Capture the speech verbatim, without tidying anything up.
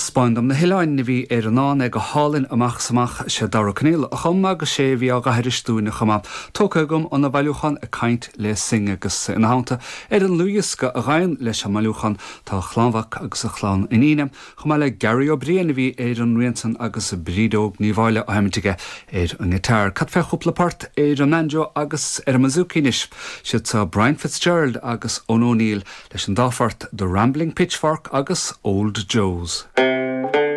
Taispeáin dom na hoileáin a bhí ar an ndán é go hálainn amach is amach sé Dara Ó Conaola a chum agus sé a bhí á aithris dúinne chomh maith. Tógtha agam óna bhailiúchán ag caint le Synge agus ina theannta ar an dlúthdhiosca a ghabhann leis an mbailiúchán tá a chlann mhac agus a chlann iníne, chomh maith le Gary Ó Briain a bhí ar an rian san agus Bríd Óg Ní Mháille á sheinm aige ar an ngiotár. Cad fé chúpla port ar an mbanjo agus ar an mbouzouki anois, siad seo Brian Fitzgerald agus Eoin O'Neill leis an dá phort The Rambling Pitchfork agus Old Joe's.